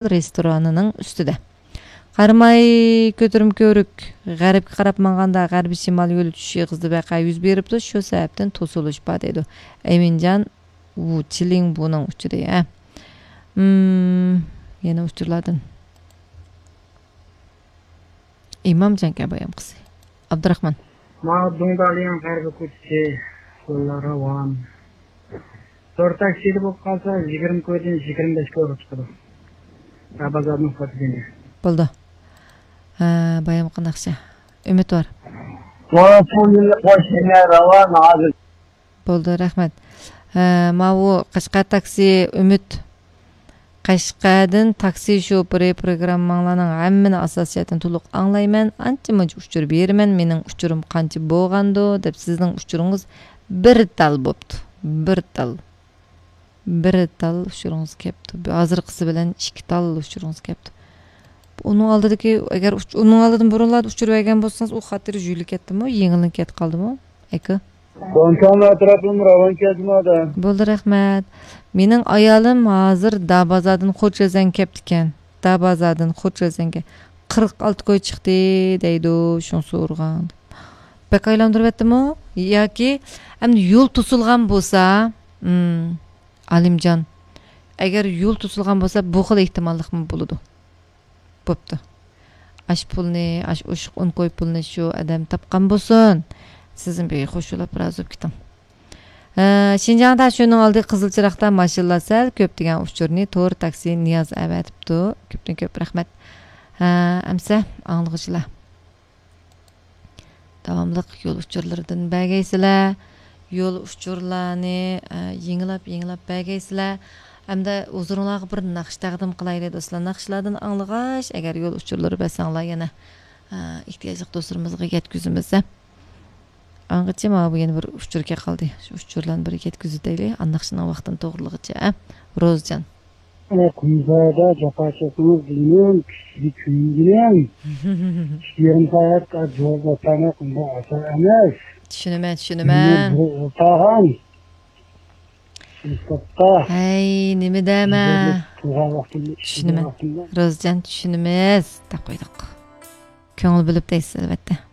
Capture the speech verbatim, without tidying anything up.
رېستورانىنىڭ ئۈستىدە. قاراماي كۆتۈرمە كۆۋرۈك غەربكە قاراپ ماڭغاندا، غەربىي شىمال يولى چۈشۈش ئېغىزىدا ۋەقە يۈز بېرىپتۇ، شۇ سەۋەبتىن توسۇلۇش بار، دەيدۇ. ئەمىنجان ۋۇ چىلىڭ بۇنىڭ ئۇچۇرى، ھە. مم، يەنە ئۇچۇرلاردىن. ئىمامجانكەن بايامقىسى. ئابدۇراخمان. ماۋۇ دۇڭدالىيىڭ غەربىي كوچىسى يوللار راۋان. تور تاكسىدا بولۇپ قالسا، يىگىرمە كويدىن يىگىرمە بەش كويغا چىقىدۇ. ھە، بازاردىن قاچىدىن. بولدى. ھە، بايامقى ناخشا. ئۈمىد بار. ماۋۇ پۇل يىللىق ماشىنا راۋان ھازىر. بولدى، رەھمەت. ھە، ماۋۇ قەشقەر تاكسى ئۈمىد. قەشقەردىن تاكسى شوپۇرى، پروگرامماڭلارنىڭ ھەممىنى ئاساسىي جەھەتتىن تولۇق ئاڭلايمەن. ئانچە مۇنچە ئۇچۇر بېرىمەن، مېنىڭ ئۇچۇرۇم قانچە بولغاندۇ دەپ، سىزنىڭ ئۇچۇرىڭىز بىر تال بوپتۇ. بىر تال. بىر تال ئۇچۇرىڭىز كەپتۇ. ھازىرقىسى بىلەن ئىككى تال ئۇچۇرىڭىز كەپتۇ. ئۇنىڭ ئالدىدىكى، ئەگەر ئۇچ-، ئۇنىڭ ئالدىدىن بۇرۇنلاردا ئۇچۇر بەرگەن بولسىڭىز، ئۇ خاتىرە يۇيۇلۇپ كەتتىمۇ، يېڭىلىنىپ كەتكەلدىمۇ، ئەكا؟ داۋانچاڭ ئەتراپىمۇ راۋان كەتمىدى. بولدى، رەھمەت. مېنىڭ ئايالىم ھازىر دابازاردىن خوچەزەنگە كەپتىكەن. دابازاردىن خوچەزەنگە قىرىق ئالتە كوي چىقتى دەيدۇ، شۇڭا سورىغان. بەك ئايلاندۇرۇۋەتتىمۇ؟ ياكى ئەمدى يول توسۇلغان بولسا، مم، ئالىمجان، ئەگەر يول توسۇلغان بولسا، بۇ خىل ئېھتىماللىقمۇ بولىدۇ. بوپتۇ. ئاش پۇلنى، ئاش ئوشۇق ئون كوي پۇلنى شۇ ئادەم تاپقان بولسۇن. سىزمۇ بىر خوش بولاپ رازى بولۇپ كېتىڭ. ھە، شىنجاڭ تاشيولىنىڭ ئالدى قىزىل چىراغدا، ماشىنىلار سەل كۆپ دېگەن ئۇچۇرنى تور تاكسى نىياز ئەۋەتىپتۇ. كۆپتىن كۆپ رەھمەت. ھە، ئەمسە ئاڭلىغۇچىلار. داۋاملىق يول ئۇچۇرلىرىدىن بەرگەيسىلەر. يول ئۇچۇرلارنى، ئە، يېڭىلاپ، يېڭىلاپ بەرگەيسىلەر. ئەمدى ھۇزۇرۇڭلارغا بىر ناخشا تەقدىم قىلايلى، دوستلار. ناخشىلاردىن ئاڭلىغاچ، ئەگەر يول ئۇچۇرلىرى بەرسەڭلار يەنە، ئە، ئېھتىياجلىق دوستلىرىمىزغا يەتكۈزىمىز، ھە. ئاڭغىچە ماۋۇ يەنە بىر ئۇچۇر كەپ قالدى. شۇ ئۇچۇرلارنى بىر يەتكۈزۈۋېتەيلى. ئانداق ناخشىنىڭ ۋاقتىنى توغرىلىغۇچە، ھە. روزىجان. ئە، قۇمسايدا جاپا چەكتىڭىز دېگىنىم، كۈچلۈك كۆيۈندىنىم. ئىككى يېرىم سائەت جاۋاب بەرمەك ئۇنداق ئاسان ئەمەس. چۈشىنىمەن، چۈشىنىمەن. بىر ئولتۇرغان. ئىنستىتۇتتا. ھەي، نېمە دەمە؟ قىلغان ۋاقتىمدا، چۈشىنىمەن. ئىشلىگەن ۋاقتىمدا. روزىجان، چۈشىنىمىز، دەپ قويدۇق. كۆڭۈل بۆلۈپ دەيسىز، ئەلۋەتتە.